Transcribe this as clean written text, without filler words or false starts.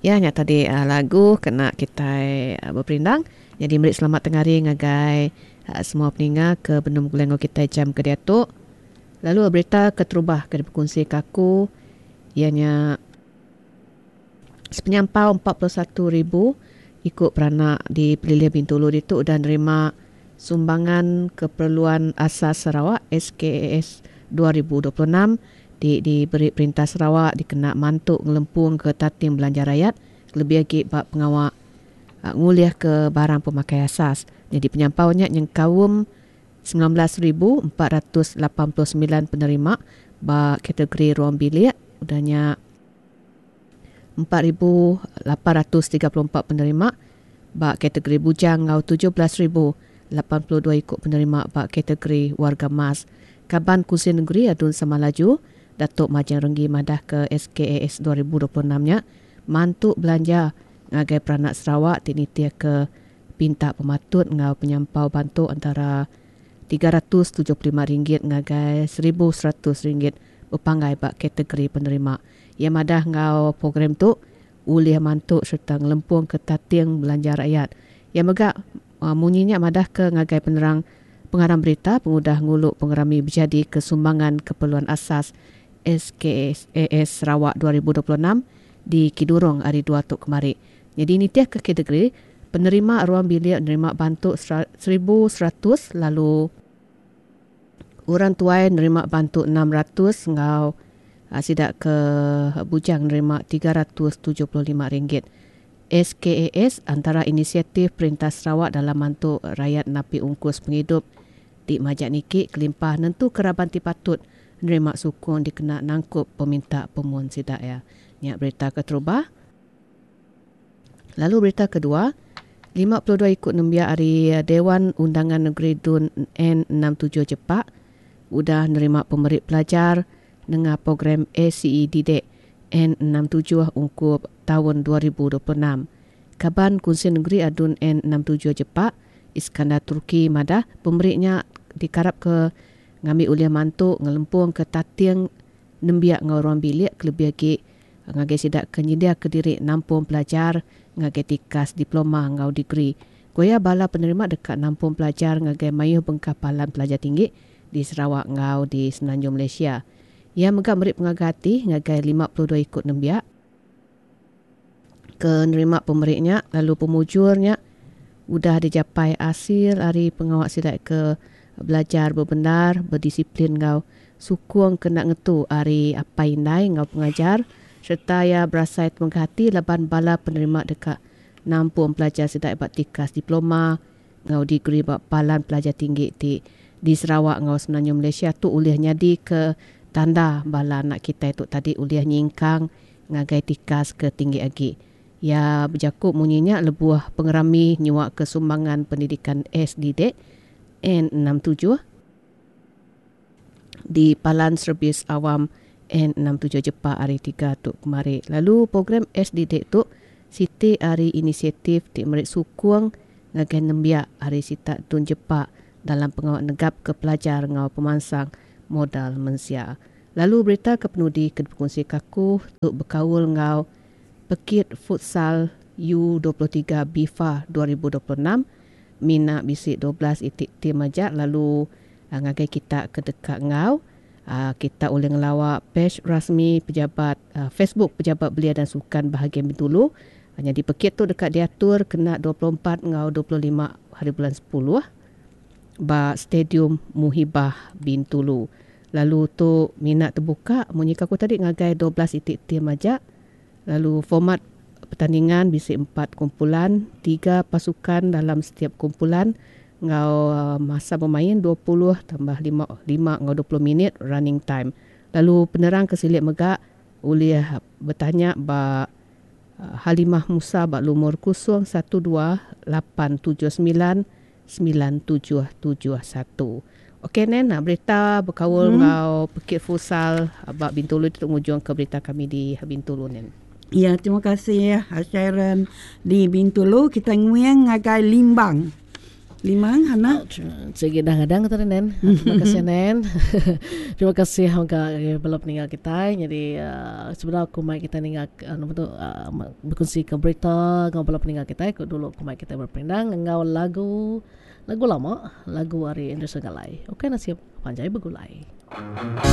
Ya nya tadi lagu kena kitai beperindang. Nyadi meri selamat tengah hari ngagai semua peninga ke benung begulai enggau kitai jam ke diatu. Lalu berita keterubah ke dipekunsika aku iya nya sepenyampau 41 ribu iku peranak di Pelilih Bintulu ditu udah nerima Sumbangan Keperluan Asas Sarawak SKAS 2026 ti diberi Perintah Sarawak dikena mantu ngelempung ke tating belanja rayat kelebih agi ba pengawa ngulihka barang pemakai asas. Nyadi penyampau nya nyengkaum 19,489 penerima ba kategori ruang bilik udah nya 4,834 penerima ba kategori bujang enggau 17,082 iku penerima ba kategori warga emas. Kaban Kunsil Nengeri Adun Samalaju, Datuk Majang Renggi madahka SKAS 2026 nya mantu belanja ngagai peranak Sarawak ti nitihka pinta pematut enggau penyampau bantu antara RM375 ngagai RM1,100 bepanggai ba kategori penerima. Iya madah enggau program tu ulih mantu sereta ngelempungka tating belanja rakyat. Iya mega munyi nya madahka ngagai penerang pengarang berita pengudah ngulu pengerami bejadika Sumbangan Keperluan Asas SKAS Sarawak 2026 di Kidurong hari Dua tu kemari. Nyadi nitihka kategori, penerima ruang bilik nerima bantu 1100 lalu orang tuai nerima bantu 600 enggau sida ke bujang nerima RM375. SKAS antara inisiatif Perintah Sarawak dalam mantu rayat napi ungkus pengidup ti majak niki kelimpah nentuka raban ti patut nerima sukung dikena nangkup peminta pemun sida iya. Nya berita keterubah. Lalu berita kedua, 52 iku nembiak ari Dewan Undangan Negeri Dun N67 Jepak udah nerima pemeri pelajar nengah program ACE Didik N67 ungkup taun 2026. Kaban Kunsil Negeri Adun N67 Jepak, Iskandar Turki madah pemeri nya dikarapka ngambi ulih mantu ngelempungka tating nembiak enggau ruang bilik kelebih agi ngagai sida ke nyediaka diri nampung pelajar ngagai tikas diploma enggau degree. Ku iya, bala penerima deka nampung pelajar ngagai mayuh bengkah palan pelajar tinggi di Sarawak enggau di Semenanjung Malaysia. Iya mega meri pengaga ati ngagai 52 iku nembiak ke nerima pemeri nya lalu pemujur nya udah dijapai asil ari pengawa sida ke belajar bebendar, bedisiplin enggau sukung ke enda ngetu ari apai indai enggau pengajar sereta iya berasai temegah ati laban bala penerima deka nampung pelajar sida ba tikas diploma enggau degree ba palan pelajar tinggi ti di Sarawak enggau Semenanjung Malaysia tu ulih nyadika tanda bala anak kitai tu tadi ulih nyingkang ngagai tikas ke tinggi agi. Iya bejaku munyi nya lebuh pengerami nyuaka Sumbangan Pendidikan SDDEC N67 di Palan Servis Awam N67 Jepak hari Tiga tu kemari. Lalu program SDDEC tu siti ari inisiatif ti meri sukung ngagai nembiak ari sitak Tun Jepak dalam pengawa negapka pelajar enggau pemansang modal mensia. Lalu berita ke penudi ke dipekunsika aku tu bekaul enggau Pekit Futsal U23 BIFA 2026 mina bisi 12 iti tim aja lalu ngagai kita ke deka enggau kita ulih ngelawa page rasmi pejabat Facebook Pejabat Belia dan Sukan Bahagian Bintulu. Nyadi pekit tu deka diatur kena 24 enggau 25 hari bulan 10 ba Stadium Muhibah Bintulu. Lalu tu mina tebuka munyi ke aku tadi ngagai 12 iti tim aja. Lalu format pertandingan bisi empat kumpulan, tiga pasukan dalam setiap kumpulan enggau masa bemain 20 tambah lima lima enggau 20 minit running time. Lalu penerang ke silik mega ulih betanya ba Halimah Musa ba lumur 012 879 9771. Okey Nen, berita bekaul enggau pekit futsal ba Bintulu ditu ngujungka berita kami di Bintulu Nen. Ya, terima kasih Sharon di Bintulu kita nguing ngagai Limbang. Limang, Hana. Sigi dah ngadang kita Nen. Terima kasih Nen. Terima kasih mega ngagai bala peninga kitai. Nyadi uh, sebedau aku mai kita ninga uh, nama tu uh, bekunsi ke berita enggau bala peninga kitai ku dulu ku mai kitai berperindang enggau lagu lagu lama lagu ari Anderson Galai. Okey nasib panjai begulai.